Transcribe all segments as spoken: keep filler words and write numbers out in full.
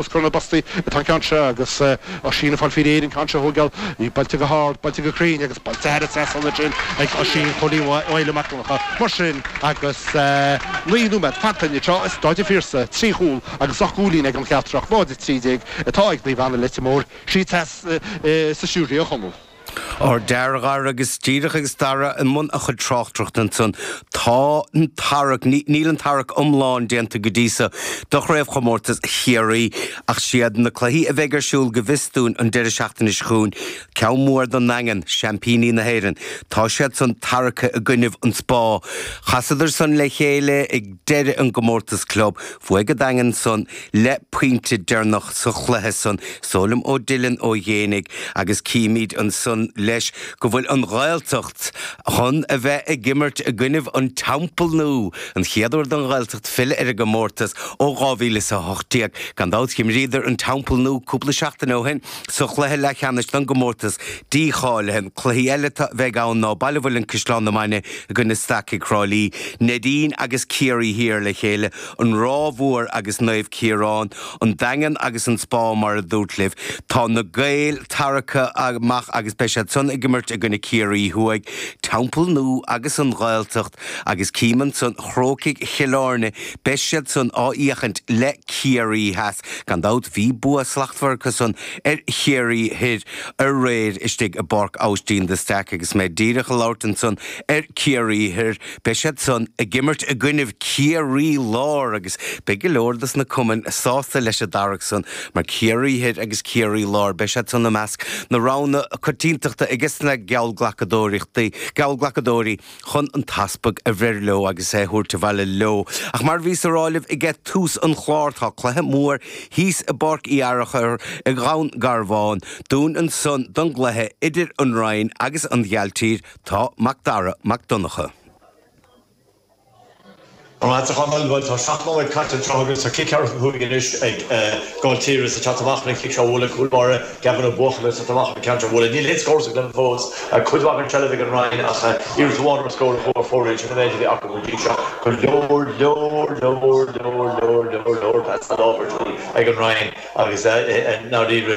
Os comhair na bpostaí atá an ceann seo agus Oisín ag fáil faoi réir an ceann seo a thógáil. Í buailte go hard, buailte go cruinn agus buailte thar an trasnán ansin ag Oisín Chóilín Mhaoile Mac Donncha. Mar sin agus naoi nóiméad fanta anseo i Staid an Phiarsaigh, trí chúl agus ocht gcúilín ag an Cheatharlach, náid a trí déag atá ag Naomh Anna Leitir Móir, siad theas sa stiúideo a Chonaill. Ár deartháir agus díreach agus Dara i mbun a chuid tráchtaireachta ansan, tá an tarrac, níl an tarrac iomlán déanta go dtí so do chraobhchomórtas Chiarraí ach siad na cluichí a bheidh ar siúl go bhfios dúinn an deireadh seachtaine seo chugainn, ceann mór don nDaingean, seaimpíní na hÉireann. Tá siad san tarractha i gcoinnibh an Spá. Chasadar san le chéile ag deireadh an gcomórtas club. Bhuaigh an Daingean san le pointe deireanach sa chluiche san. Is dóigh liom ó Dylan Ó Géibheannaigh agus címid ansan leis go bhfuil an Ghaeltacht chun a bheith ag imirt i gcoinnibh an Teampall Nua, an chéad uair don Ghaeltacht filleadh ar an gcomórtas ó dhá mhíle is a hocht déag. Gan dabht d'imríodar an Teampall Nua cúpla seachtain ó shin sa chluiche leathcheannais don gcomórtas dícháilithe. Cluichí eile a bheidh ann ná Baile Mhuilinn Caisleán na Mainge i gcoinne Stacaigh Thrá Lí, Neidín agus Ciarraí Thiar le chéile, An Ráth Mhór agus Naomh Ciarán, An Daingean agus an Spá mar a dúrt libh. Tá na Gaeil tarractha amach agus beidh siad san ag imirt i gcoinne Ciarraí Thuaidh, Teampall Nua agus an Ghaeltacht agus cím ansan Crócaigh Chill Airne, beidh siad san á fhiachaint le Ciarraí Theas. Gan dabht bhí bua slachtmhar acu san ar Chiarraí Thoir aréir istigh i bPáirc Aibhistín de Staic agus mé díreach ag labhairt ansan ar Ciarraí Thoir, beidh siad san ag imirt i gcoinnibh Ciarraí Láir agus beidh go leor dos na cumainn sásta leis an dtarrac san mar Ciarraí Thoir agus Ciarraí Láir, beidh siad san i measc na roghanna coitiantachta ages na geallghlacadóireachtaí, geallghlacadóirí chun an t-easpag a bhreith leo agus é a thabhairt abhaile leo. Ach mar a bhíos a rá libh age tús an chláir, tá cluiche mór thíos i bPáirc Uí Fhearchair i nDún Garbhán dúinn ansan don gcluiche idir an Rinn agus an Ghailltír, tá Mac Dara Mac Donncha. An-mhaith a Chonaill, bhuel tá seacht nóiméad caite anseo agus tá cic ceathracha cúig anois ag Gailltír is ag teacht amach le cic seo a bhualadh, cúl báire Gavin Ó Buachalla ag teacht amach le ceann seo a bhualadh. Níl aon scór sa gcluiche fós, cuid mhaith den tseilbh ag an Rinn ach iarracht amháin ar scór a chuaigh ar fóraoil, sin an méid a bhí acu go dtí seo. Go leor, leor, leor, leor, leor, leor, leor pas láimhe ar siúl ag an Rinn. Agus i ndáiríre,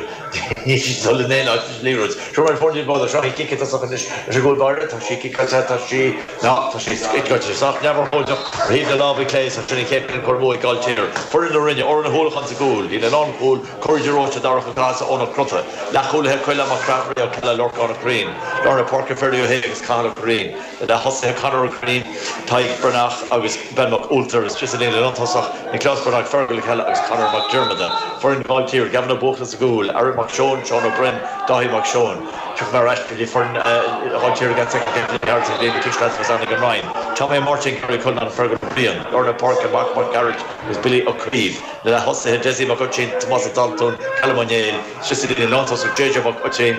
níl siad ag dul in aon áit leis an liathróid. Seo mar foirne bád seo í cic tosach anois leis an gcúl báire. Tá sí ciceáilte, tá sí, ná, tá sí ciceáilte sách neamhurchóideach ar thaobh na láimhe clé so sin an chéad cheann curtha amú ag Gailltír. Foireann na Rinne, Odhrán Ó hUallacháin sa gcúl, líne lánchúil, Corey de Róiste, Darach Ó Cathasaigh, Eoin Ó Crotta. Leathchúlaithe Coilm Mac Craith, Ray Ó Ceallaigh, Lorcán Ó Curraoin. Lár na páirce Ferdy Ó hAodha agus Cathal Ó Curraoin. Leath-thosaithe Conor Ó Curraoin, Tadhg Breathnach agus Ben Mac Ualtair. Istigh sa líne lántosach, Nioclás Breathnach, Fergal Ó Ceallaigh agus Conor Mac Diarmada. Foireann Ghailltír, Gavin Ó Buachalla sa gcúl, Aaron Mac Seoin, Seán Ó Broin, Dáithí Mac Seoin. Tiocfaidh mé ar ais go dtí foireann Ghailltír i gceann soicind, Anthony Harris ag líon na ciseáin is ag an Rinn. Tommy Ó Máirtín, Gary Cullinan, Fergal Ó Briain. Lár na páirce, Marc Mac Gearailt agus Billy Ó Caoimh. Na leath-thosaithe, Dessie Mac Oitín, Tomás Ó Daltún, Callum Ó Néill. Istigh sa líne lántosach, J J Mac Oitín,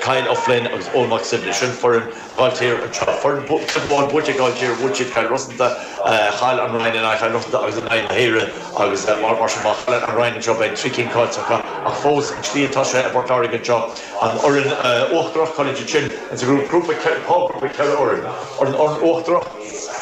Kyle Ó Floinn agus Eoin Mac Suibhne. Sin foireann Ghailltír anseo. Foireann cluiche amháin buaite ag Gailltír, bhuaigh siad Cill Rosanta, chaill an Rinn in aghaidh Chill Rosanta agus in aghaidh na hAoire agus mar sin má chailleann an Rinn anseo beidh trí cinn caillte acu ach fós an tslí atá sé i bPort Láirge anseo an fhoireann uachtarach cailleann siad sin insa ghrúpa dhá ghrúpa ceithre fhoireann an fhoireann uachtarach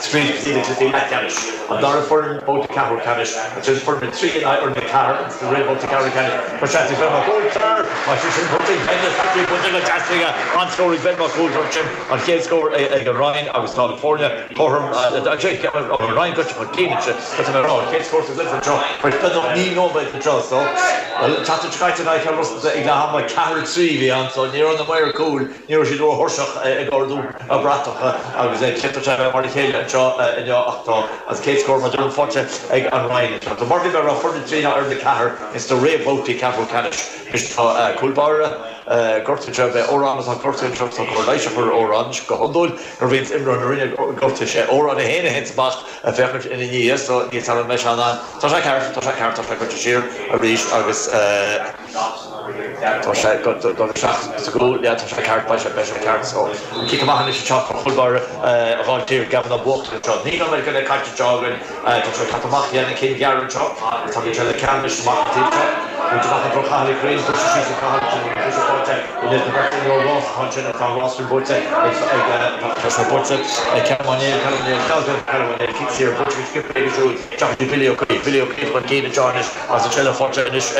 tríd go dtí na cluichí leathcheannais an dara foireann babhta ceathrú ceannais ansin foireann a trí in aghaidh fhoireann a ceathair sa réamhbhabhta ceathrú ceannais tá seans ag Ben Mac Ualtair tá sé sin curtha ag Ben Patrick buailte go deas aige an-scór ag Ben Mac Ualtair ansin an chéad scór ag an Rinn agus tá na foirne cothrom an Rinn goite chun cinn ansin tá mé ag rá an chéad scór sa gcluiche anseo tar éis beagnach naoi nóiméad anseo so an tseachtain seo caite in aghaidh Chill Rosanta ag leath ama ceathair a trí a bhí ann so ní raibh na maoir cúil ní raibh siad róthuirseach ag ardú na bratacha agus d'fhéadfadh sé a bheith mar a chéile anseo inniu ach tá an chéad scór mar a deirim faighte ag an Rinn anseo. So mar a bhí mé ag rá foireann a trí ná foireann a ceathair ins na réamhbhabhtaí ceathrú ceannais. Anois tá cúl báire gortaithe anseo, beidh Odhrán atá gortaithe anseo, tá cóir leighis á chur ar Odhrán anois go hiondúil nuair a bhíonns imreoir na Rinne gortaithe sé Odhrán é féin a théanns amach ag féachaint ina ndiaidh so níl 's agam an mbeidh sé in ann. Tá sé ceart, tá sé ceart, tá sé goite siar arís agus. Tá sé ag dul isteach sa gcúl, yeah, tá sé ceart, beidh sé, beidh sé ceart. So, an cic amach anois anseo do chúl báire Ghailltír, Gavin Ó Buachalla anseo. Naoi nóiméad go leith caite anseo againn. Tá sé ag teacht amach, dhéanamh cinn ghearr anseo. Tá sé le ceann anois amach an taobh seo. Buaite amach an Cathal Crean buaite síos Cathal sin atá Rossman buaite ag buaite ag Cemáné siar buaite Billy Billy Ó Billy Ó chun cinn anois as an seilbh faighte anois